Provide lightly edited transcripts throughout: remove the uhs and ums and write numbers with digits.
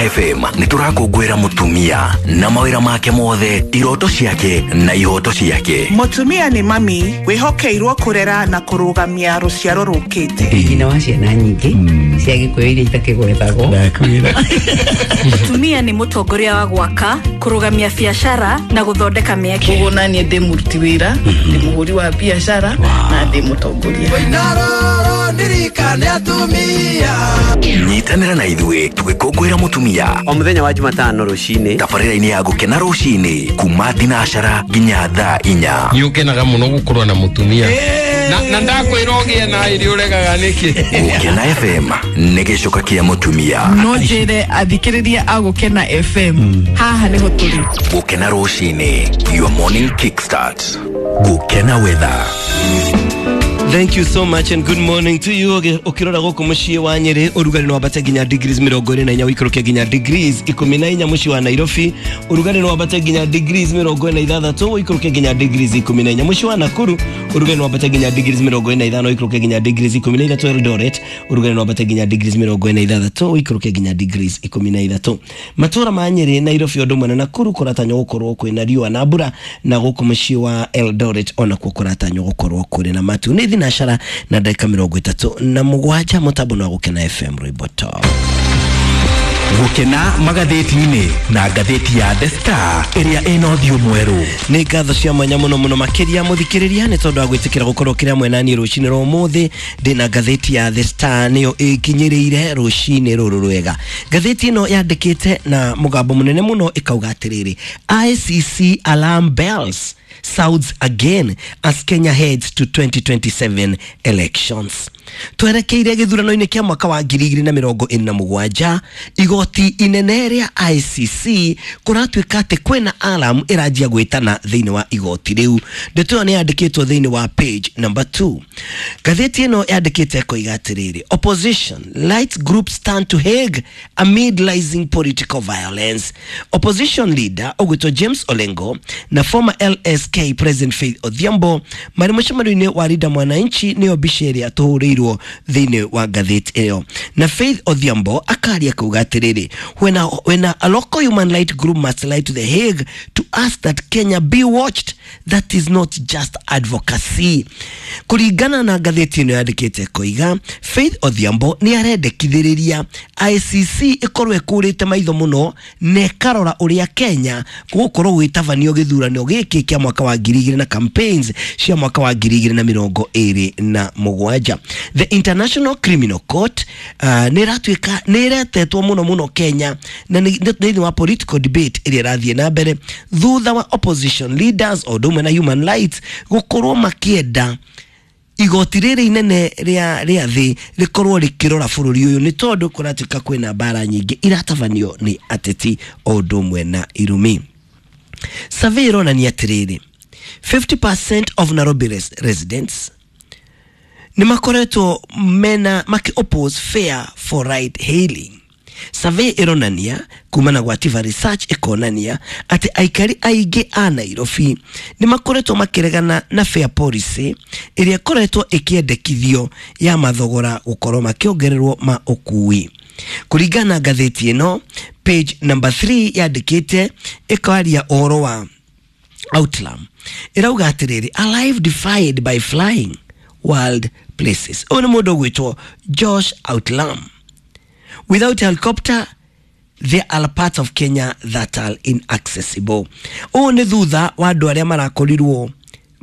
Gũkena FM nĩ tũrakũngũĩra mũtumia na mawĩra make mothe, iroto ciake na ihoto ciake. Mũtumia nĩ mami wĩhokeirwo kũrera na kũrũgamia rũciaro rũkĩte. Nyina wa ciana nyingĩ cia Gĩkũyũ iria itakĩgwetagwo. Mũtumia nĩ mũtongoria wa gwaka, kũrũgamia biacara na gũthondeka mĩeke. Koguo naniĩ ndĩ mũruti wĩra, ndĩ mũhũri wa biacara na ndĩ mũtongoria. Nyitanĩra na ithuĩ tũgĩkũngũĩra mũtumia o mũthenya wa Jumatano rũcinĩ tabarĩra-inĩ ya Gũkena rũcinĩ kuma thinacara nginya thaa 4. Nĩ ũkenaga mũno gũkorwo na mũtumia na ndakwĩra ũgĩe na ĩrĩ ũregaga nĩkĩ. Gũkena FM nĩ gĩcoka kĩa mũtumia. No njĩre athikĩrĩria a Gũkena FM haha nĩho tũrĩ. Gũkena rũcinĩ, your morning kickstart. Gũkena weather. Thank you so much and good morning to you. Ukirora guku mucii wa Nyeri urugari no wambate nginya degrees 24, uikũrũke nginya degrees 14. Mucii wa Nairobi urugari no wambate nginya degrees 46, uikũrũke nginya degrees 14. Mucii wa Nakuru urugari no wambate nginya degrees 45, uikũrũke nginya degrees 13. Eldoret urugari no wambate nginya degrees 46, uikũrũke nginya degrees 13. Matura ma Nyeri, Nairobi ũndũ ũmwe na Nakuru kũratanywo gũkorwo kwĩna riũa na mbura, na gũkũ mũciĩ wa Eldoret onakuo kũratanywo gũkorwo kũrĩ na matu. Nĩ thinacara na ndagĩka 37 mũtambo wa Gũkena FM rwĩmbo top. Gũkena magathĩti-inĩ na ngathĩti ya The Star ĩrĩa ĩna ũthiũ mwerũ. Nĩ ngatho cia mwanya mũno mũno makĩria mũthikĩrĩria nĩ tondũ wa gwĩtĩkĩra gũkorwo kĩrĩa mwena niĩ rũcinĩ rwa ũmũthĩ. Ndĩna ngathĩti ya The Star nĩyo ĩkinyĩrĩire rũcinĩ rũrũ rwega. Ngathĩti ĩno yandĩkĩte na mũgambo mũnene mũno ĩkauga atĩrĩrĩ, ICC alarm bells sounds again as Kenya heads to 2027 elections. Twerekeire gĩthurano-inĩ kĩa mwaka wa 2027, igoti inene rĩa ICC kũratuĩka atĩ kwĩna alarm ĩranjia gwĩtana thĩinĩ wa igoti rĩu. Ndeto ĩyo nĩ yandĩkĩtwo thĩinĩ wa page number 2. Ngathĩti ĩno yandĩkĩte ĩkoiga atĩrĩrĩ, opposition light group stand to Hague amid rising political violence. Opposition leader ũgwĩtwo James Olengo na former LSK President Faith Odhiambo marĩ mũcemanio-inĩ wa Linda Mwananchi, nĩyo mbica ĩrĩa tũhũrĩirwo thĩinĩ wa ngathĩti ĩyo. Na Faith Odhiambo akaria kuga atĩrĩrĩ, when a local human right group must lie to the Hague to ask that Kenya be watched, that is not just advocacy. Kũringana na ngathĩti ĩno yandĩkĩte koiga, Faith Odhiambo nĩ arendekithĩrĩria ICC ĩkorwo ĩkũrĩte maitho mũno na ĩkarora ũrĩa Kenya gũgũkorwo gwĩtabanio gĩthurano gĩkĩ kĩa mwaka wa 2000 na campaigns cia mwaka wa 2027. The International Criminal Court nĩ ĩratuĩka nĩ ĩretetwo mũno mũno Kenya na thĩinĩ wa political debate ĩrĩa ĩrathiĩ na mbere thutha wa opposition leaders o ũndũ ũmwe na human rights gũkorwo makĩenda igoti rĩrĩ inene rĩa thĩ rĩkorwo rĩkĩrora bũrũri ũyũ, nĩ tondũ kũratuĩka kwĩna mbara nyingĩ iratabanio nĩ ateti o ũndũ ũmwe na irumi. Survey ĩronania atĩrĩrĩ, 50% of Nairobi residents nĩ makoretwo mena maki oppose fare for ride hailing. Survey ĩronania kumana gwa Tiva Research ĩkonania atĩ aikari aingĩ a Nairobi nĩ makoretwo makĩregana na fare policy ĩrĩa ĩkoretwo ĩkĩendekithio ya mathogora gũkorwo makĩongererwo ma ũkui. Kũringana na ngathĩti ĩno, page number 3 yandĩkĩte ĩkaria ũhoro wa Outlam. Ĩrauga atĩrĩrĩ, a life defied by flying wild places. Ũyũ nĩ mũndũ ũgwĩtwo Josh Outlam. Without helicopter, there are parts of Kenya that are inaccessible. Ũũ nĩ thutha wa andũ arĩa marakorirwo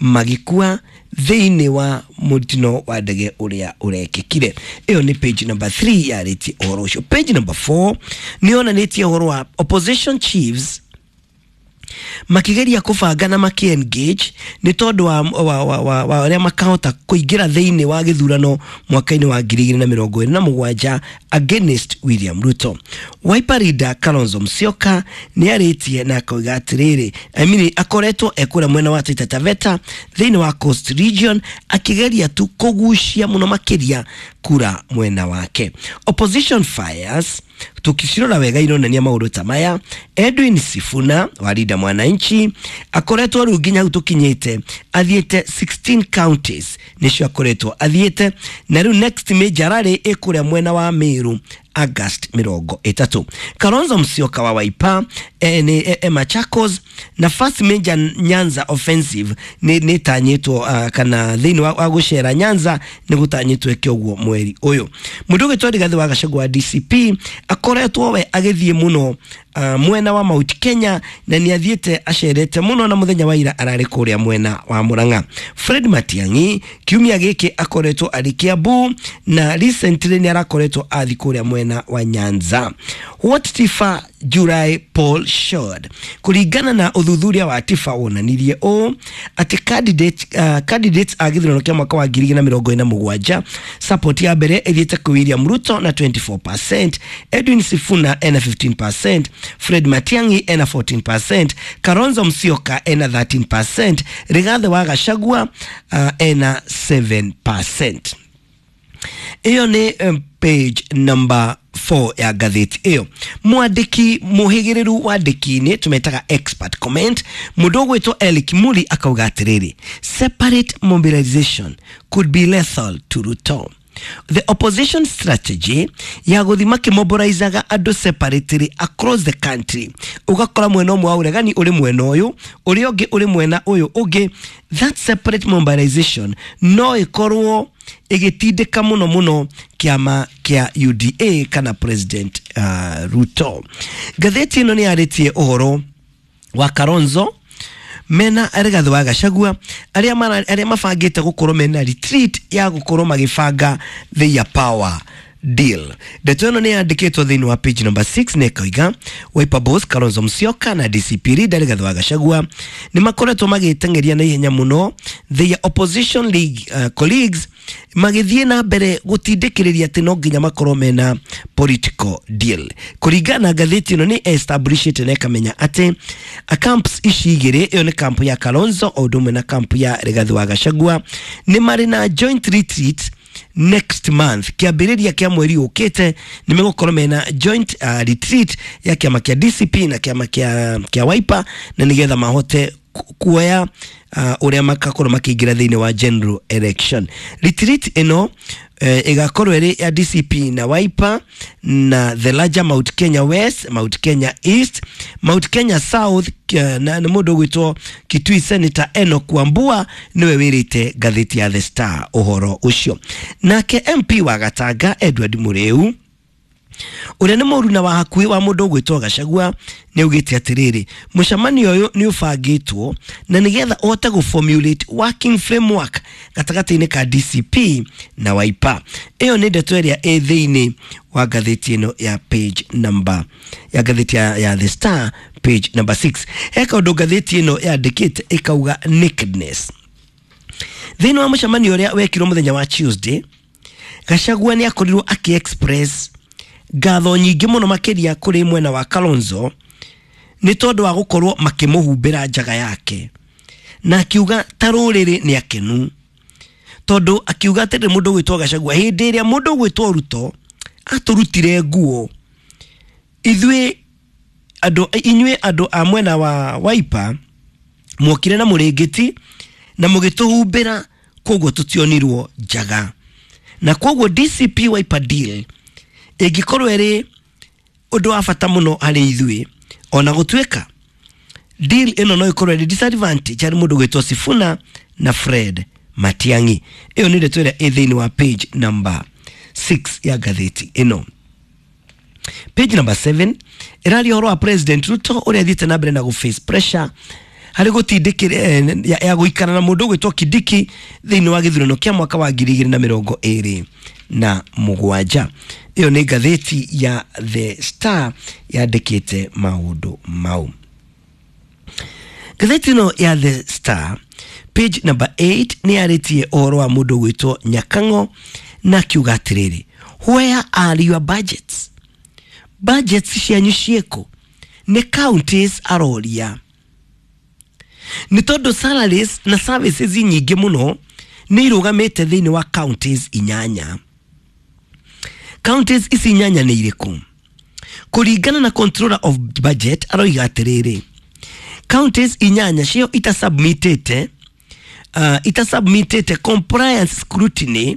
magĩkua thĩinĩ wa mũtino wa ndege ũrĩa ũrekĩkire. Ĩyo nĩ page number 3 yarĩtie ũhoro ũcio. Page number 4 nĩ yonanĩtie ũhoro wa opposition chiefs makigeria kũbanga na maki engage nĩ tondũ wa ũrĩa makahota kũingĩra thĩinĩ wa gĩthurano mwaka-inĩ wa 2027 against William Ruto. Wiper leader Kalonzo Musyoka nĩ arĩtie na akoiga atĩrĩrĩ, I mean, akoretwo ekũrĩa mwena wa Taita Taveta thĩinĩ wa Coast Region akĩgeria tu kũgucia mũno makĩria kura mwena wake. Opposition fires tukicirora wega ironania maũndũ ta maya. Edwin Sifuna wa Linda Mwananchi akoretwo rĩu nginya hau tũkinyĩte athiĩte 16 counties nĩcio akoretwo athiĩte, na rĩu next major rally ĩkũrĩa mwena wa Meru. August 30. Kalonzo Musyoka wa Wiper nĩ Machakos na first major Nyanza offensive nĩ tanyĩtwo kana thĩinĩ wa gũcera Nyanza nĩ gũtanyĩtwo ĩke ũguo mweri ũyũ. Mũndũ ũgĩtwo Rigathĩ wa Gachagua wa DCP akoretwo we agĩthiĩ mũno mwena wa Mount Kenya na nĩ athiĩte acerete mũno na mũthenya wa ira ararĩ kũrĩa mwena wa Murang'a. Fred Matiang'i kiumia gĩkĩ akoretwo arĩ Kiambu na recently nĩ arakoretwo athi kũrĩa mwena wa Nyanza. What Tifa July poll showed, kũringana na ũthuthuria wa Tifa wonanirie ũũ atĩ candidates a gĩthurano kĩa mwaka wa 2027 support ya mbere ĩthiĩte kwĩ William Ruto na 24%, Edwin Sifuna ena 15%, Fred Matiang'i ena 14%, Kalonzo Musyoka ena 13%, Rigathi wa Gachagua ena 7%. Iyo nĩ page number 4 ya ngathĩti ĩyo. Mwandĩki mũhĩgĩrĩru wandĩki-inĩ tũmetaga expert comment, mũndũ ũgwĩtwo Eric Muli akauga atĩrĩrĩ, separate mobilization could be lethal to Ruto. The opposition strategy ya gũthi makĩmobilizaga andũ separately across the country, ũgakora mwena ũmwe wa ũregani ũrĩ mwena ũyũ, ũrĩa ũngĩ ũrĩ mwena ũyũ ũngĩ, that separate mobilization no ĩkorwo ĩgĩtindĩka mũno mũno kĩama kĩa UDA kana President Ruto. Ngathĩti ĩno nĩ yarĩtie ũhoro wa Kalonzo mena Rigathi wa Gachagua arĩa mabangĩte gũkorwo mena retreat ya gũkorwo magĩbanga their power deal. Ndeto ĩno nĩ yandĩkĩtwo thĩinĩ wa page number 6 na ĩkoiga Wiper boss Kalonzo Musyoka na DCP leader Rigathi wa Gachagua nĩ makoretwo magĩteng'eria na ihenya mũno their opposition league colleagues magĩthiĩ na mbere gũtindĩkĩrĩria atĩ no nginya makorwo mena political deal. Kũringana na ngathĩti ĩno nĩ establishĩte na ĩkamenya atĩ camps ici igĩrĩ, ĩyo nĩ camp ya Kalonzo o ũndũ ũmwe na camp ya Rigathi wa Gachagua, nĩ marĩ na joint retreat next month, kĩambĩrĩria kĩa mweri ũkĩte nĩ megũkorwo mena joint retreat ya kĩama kĩa DCP na kĩama kĩa Wiper, na nĩgetha mahote kuoya ũrĩa makakorwo makĩingĩra thĩinĩ wa general election. Retreat ĩno ĩgakorwo ĩrĩ ya DCP na Wiper na the larger Mount Kenya West, Mount Kenya East, Mount Kenya South, na mũndũ ũgwĩtwo Kitui Senator Enoch Wambua nĩwe wĩrĩte ngathĩti ya The Star ũhoro ũcio. Nake MP wa Gatanga Edward Muriu ũrĩa nĩ mũruna wa hakuhĩ wa mũndũ ũgwĩtwo Gachagua nĩ augĩte atĩrĩrĩ, mũcemanio ũyũ nĩ ũbangĩtwo na nĩgetha ũhote gũformulate working framework gatagatĩ-inĩ ka DCP na Wiper. Ĩyo nĩ ndeto ĩrĩa ĩ thĩinĩ wa ngathĩti ĩno ya page number ya ngathĩti ya The Star page number 6. He kaũndũ ngathĩti ĩno yandĩkĩte ĩkauga nakedness. Thĩinĩ wa mũcemanio ũrĩa wekirwo mũthenya wa Tuesday, Gachagua nĩ akorirwo akĩ-express ngatho nyingĩ mũno makĩria kũrĩ mwena wa Kalonzo nĩ tondũ wa gũkorwo makĩmũhumbĩra njaga yake, na akiuga ta rũrĩrĩ nĩ akenu, tondũ akiuga atĩrĩ mũndũ ũgwĩtwo Gachagua hĩndĩ ĩrĩa mũndũ ũgwĩtwo Ruto atũrutire nguo ithuĩ andũ, inyuĩ andũ a mwena wa Wiper mwokire na mũrĩngĩti na mũgĩtũhumbĩra, koguo tũtionirwo njaga, na koguo DCP Wiper deal ĩngĩkorwo ĩrĩ ũndũ wa bata mũno harĩ ithuĩ, ona gũtuĩka deal ĩno no ĩkorwo ĩrĩ disadvantage harĩ mũndũ ũgwĩtwo Sifuna na Fred Matiang'i. Ĩyo nĩ ndeto ĩrĩa ĩ thĩinĩ wa page number 6 ya ngathĩti ĩno. Page number 7 ĩraria ũhoro wa President Ruto ũrĩa athiĩte na mbere na gũ-face pressure harĩ gũtindĩkĩra ya gũikara na mũndũ ũgwĩtwo Kindiki thĩinĩ wa gĩthurano kĩa mwaka wa 2027. Ĩyo nĩ ngathĩti ya The Star yandĩkĩte maũndũ mau. Ngathĩti ĩno ya The Star page number 8 nĩ yarĩtie ũhoro wa mũndũ ũgwĩtwo Nyakang'o na akiuga atĩrĩrĩ, where are your budgets? Budgets cianyu ciĩkũ? Nĩ counties aroria, nĩ tondũ salaries na services nyingĩ mũno nĩ irũgamĩte thĩinĩ wa counties inyanya. Counties ici inyanya nĩ irĩkũ? Kũringana na controller of budget aroiga atĩrĩrĩ, counties inyanya cio itasubmitĩte compliance scrutiny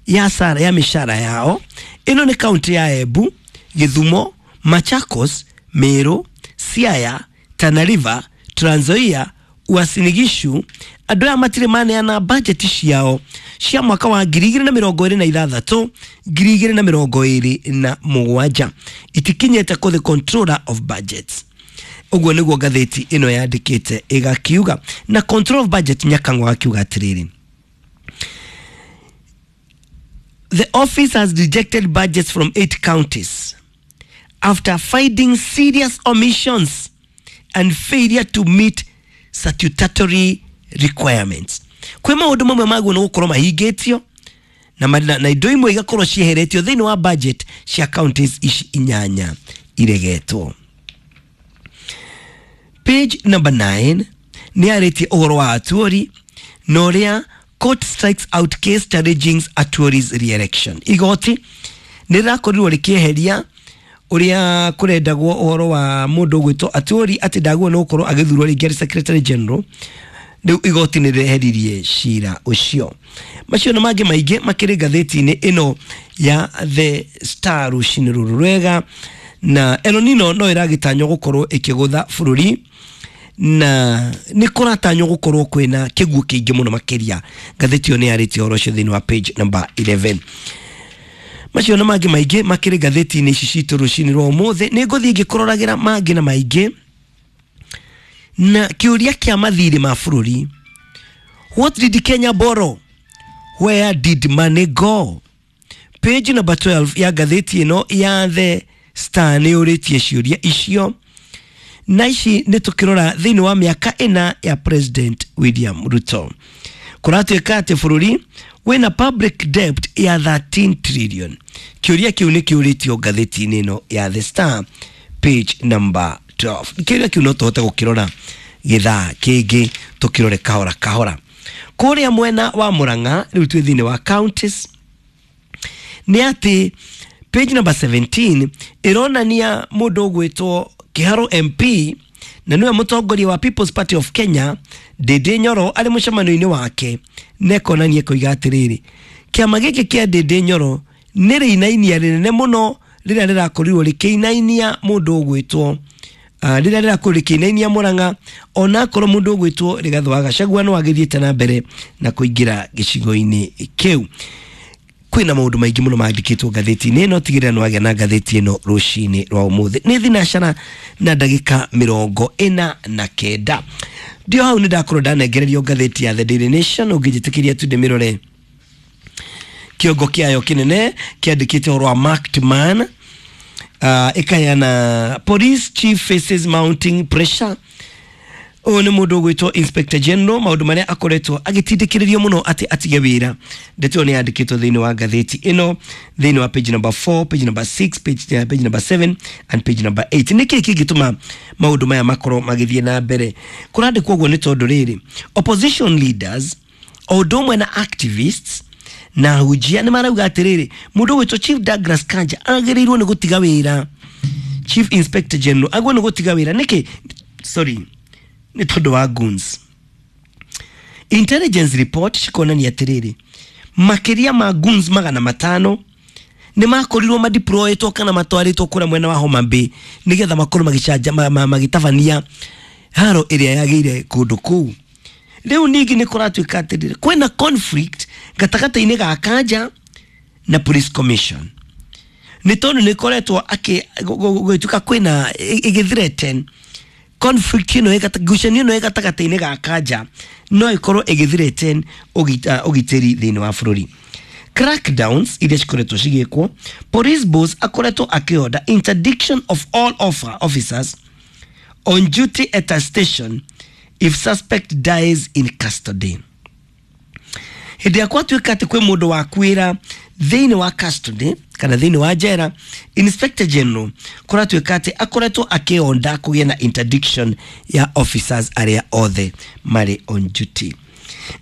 ya sara ya mĩcara yao Ĩno nĩ kaunti ya Embu, Gĩthumo, Machakos, Meru, Siaya, Tana River, Trans Nzoia, Uasin Gishu. Andũ aya matirĩ maneana bajeti ciao cia mwaka wa 2026 2027, itikinyĩte kũ the controller of budgets. Ũguo nĩguo ngathĩti ĩno yandĩkĩte ĩgakiuga. Na control of budget Nyakang'o akiuga atĩrĩrĩ, the office has rejected budgets from 8 counties after finding serious omissions and failure to meet statutory requirements. Kwĩ maũndũ mamwe maguo nĩ gũkorwo mahingĩtio na indo imwe igakorwo cieheretio thĩinĩ wa budget cia counties ici 8 iregetwo. Page number 9 nĩ yarĩtie ũhoro wa Atuori na ũrĩa court strikes out case challenging Atuori's re-election. Igoti nĩ rĩrakorirwo rĩkĩeheria ũrĩa kũrendagwo ũhoro wa mũndũ ũgwĩtwo Atuori atĩ ndagwo nĩ gũkorwo agĩthurwo rĩngĩ arĩ secretary general. Rĩu igoti nĩ rĩeheririe cira ũcio. Macio na mangĩ maingĩ makĩrĩ ngathĩti-inĩ ĩno ya The Star rũcinĩ rũrũ rwega. Na El Nino no ĩragĩtanywo gũkorwo ĩkĩgũtha bũrũri, na nĩ kũratanywo gũkorwo kwĩna kĩguũ kĩingĩ mũno makĩria. Ngathĩti ĩyo nĩ yarĩtie ũhoro ũcio thĩinĩ wa page number 11. Macio na mangĩ maingĩ makĩrĩ ngathĩti-inĩ ici citũ rũcinĩ rwa ũmũthĩ. Nĩ ngũthiĩ ngĩkũroragĩra mangĩ na maingĩ. Na kĩũria kĩa mathirĩ ma bũrũri, what did Kenya borrow, where did money go? Page number 12 ya ngathĩti ĩno ya The Star nĩ yũrĩtie ciũria icio, na ici nĩ tũkĩrora thĩinĩ wa mĩaka 4 ya President William Ruto. Kũratuĩka atĩ bũrũri wĩna public debt ya 13 trillion. Kĩũria kĩu nĩ kĩũrĩtio ngathĩti-inĩ ĩno ya The Star page number 12. Kĩũria kĩu no tũhote gũkĩrora gĩthaa kĩngĩ, tũkĩrore kahora kahora. Kũrĩa mwena wa Murang'a rĩu twĩ thĩinĩ wa counties, nĩ atĩ page number 17 ĩronania mũndũ ũgwĩtwo Kĩharũ MP na nĩwe mũtongoria wa People's Party of Kenya Ndindi Nyoro arĩ mũcemanio-inĩ wake, na ekonania koiga atĩrĩrĩ, kĩama gĩkĩ kĩa Ndindi Nyoro nĩ rĩinainia rĩnene mũno rĩrĩa rĩrakorirwo rĩkĩinainia mũndũ ũgwĩtwo rĩrĩa rĩrakorirwo rĩkĩinainia Murang'a, onakorwo mũndũ ũgwĩtwo Rigathĩ wa Gachagua no agĩthiĩte na mbere na kũingĩra gĩcigo-inĩ kĩu. Kwĩna maũndũ maingĩ mũno mandĩkĩtwo ngathĩti-inĩ ĩno, tigĩrĩra nĩ wagĩa na ngathĩti ĩno rũcinĩ rwa ũmũthĩ. Nĩ thinacara na ndagĩka 49. Ndio hau nĩ ndakorwo ndanengererio ngathĩti ya The Daily Nation. Ũngĩnjĩtĩkĩria tu ndĩmĩrore kĩongo kĩayo kĩnene kĩandĩkĩte ũhoro wa marked man, ĩkaheana police chief faces mounting pressure. Ũyũ nĩ mũndũ ũgwĩtwo Inspector General, maũndũ marĩa akoretwo agĩtindĩkĩrĩrio mũno atĩ atige wĩra. Ndeto ĩyo nĩ yandĩkĩtwo thĩinĩ wa ngathĩti ĩno, thĩinĩ wa page number 4, page number 6, page number 7 and page number 8. Nĩ kĩĩ kĩngĩtũma maũndũ maya makorwo magĩthiĩ na mbere? Kũrandĩkwo ũguo nĩ tondũ rĩrĩ, opposition leaders o ũndũ ũmwe na activists na ahunjia nĩ marauga atĩrĩrĩ, mũndũ ũgwĩtwo Chief Douglas Kanja agĩrĩirwo nĩ gũtiga wĩra. Chief Inspector General agĩrĩirwo nĩ gũtiga wĩra nĩkĩ? Sorry, nĩ tondũ wa goons. Intelligence report cikonania atĩrĩrĩ, makĩria ma goons 500 nĩ makorirwo madeployetwo kana matwarĩtwo kũrĩa mwena wa Homa Bay nĩgetha makorwo magĩcanja magĩtabania haro ĩrĩa yagĩire kũndũ kũu. Rĩu ningĩ nĩ kũratuĩka atĩrĩrĩ, kwĩna conflict gatagatĩ-inĩ ga Kanja na Police Commission, nĩ tondũ nĩ koretwo gũgĩtuĩka kwĩna ĩgĩthreaten conflict ĩno, ngucanio ĩno ĩ gatagatĩ-inĩ ga Kanja no ĩkorwo ĩgĩthreaten ũgitĩri thĩinĩ wa bũrũri. Crackdowns iria cikoretwo cigĩkwo, police boss akoretwo akĩorder interdiction of all officers on duty at a station if suspect dies in custody. Hĩndĩ ya kwatuĩka atĩ kwĩ mũndũ wakuĩra thĩinĩ wa custody kana thĩinĩ wa njera, Inspector General kũratuĩka atĩ akoretwo akĩonda kũgĩa na interdiction ya officers arĩa othe marĩ on duty.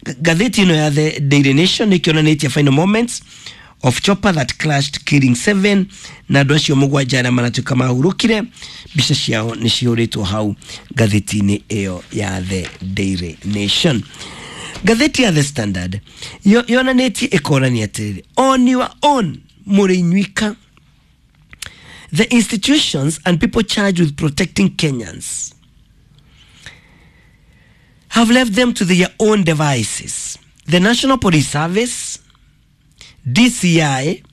Ngathĩti ĩno ya The Daily Nation ĩkĩonanĩtie final moments of chopper that crashed killing 7, na andũ acio 7 arĩa maratuĩka mahurũkire, mbica ciao nĩ cihũrĩtwo hau ngathĩti-inĩ ĩyo ya The Daily Nation. Ngathĩti ya The Standard yonanĩtie ĩkonania atĩrĩrĩ, on your own Mũrĩ inyuika. The institutions and people charged with protecting Kenyans have left them to their own devices. The National Police Service, DCI,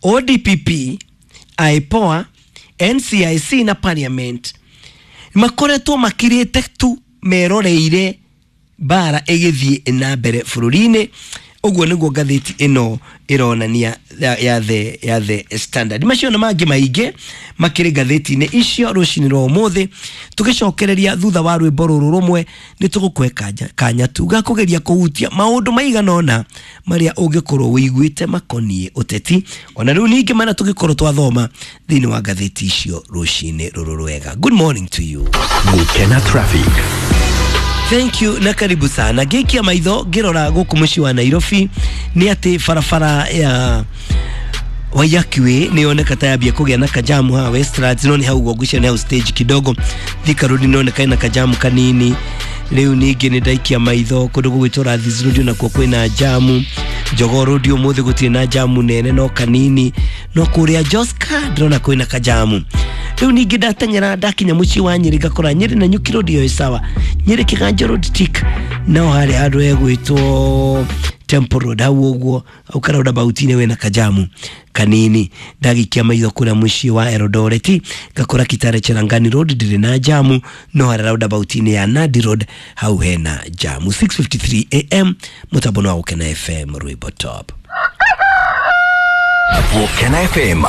ODPP, IPOA, NCIC na Parliament makoretwo makirĩte tu meroreire mbara ĩgĩthiĩ na mbere bũrũri-inĩ. Ũguo nĩguo ngathĩti ĩno ĩronania ya The Standard. Macio na mangĩ maingĩ makĩrĩ ngathĩti-inĩ icio rũcinĩ rwa ũmũthĩ. Tũgĩcokereria thutha wa rwĩmbo rũrũ rũmwe, nĩ tũgũkũhe kanya tu ga kũgeria kũhutia maũndũ maigana ũna marĩa ũngĩkorwo wĩiguĩte makoniĩ ũteti, ona rĩu ningĩ marĩa tũngĩkorwo twathoma thĩinĩ wa ngathĩti icio rũcinĩ rũrũ rwega. Good morning to you. Gukena Traffic. Thank you na karibu sana. Ngĩikia maitho ngĩrora gũkũ mũciĩ wa Nairobi, nĩ atĩ barabara ya Waiyaki Way nĩ yoneka ta yambia kũgĩa na kajamu haha Westlands, no nĩ hau ũguo ngwĩciria nĩ hau stage kidogo. Thika Road nĩ yoneka ĩna kajamu kanini. Rĩu ningĩ nĩ ndaikia maitho kũndũ gũgwĩtwo Rathis Road, nakuo kwĩna jamu. Jogoo Road ũmũthĩ gũtirĩ na jamu nene, no kanini, no kũrĩa Joska ndĩrona kwĩna kajamu. Rĩu ningĩ ndateng'era ndakinya mũciĩ wa Nyĩrĩ, ngakora Nyĩrĩ na Nyuki Road ĩyo ĩ sawa, Nyĩrĩ Kĩganjo Road tik, no harĩa handũ hegwĩtwo Temple Road hau ũguo hau karaundabout-inĩ wĩna kajamu kanini. Ndagĩikia maitho kũrĩa mũciĩ wa Eldoret, ngakora Kitale Cherangani Road ndĩrĩ na jamu, no harĩa roundabout-inĩ ya Nandi Road hau hena jamu. 6:53 am, mũtambo nĩ wa Gũkena FM, rwĩmbo top. Gukena FM.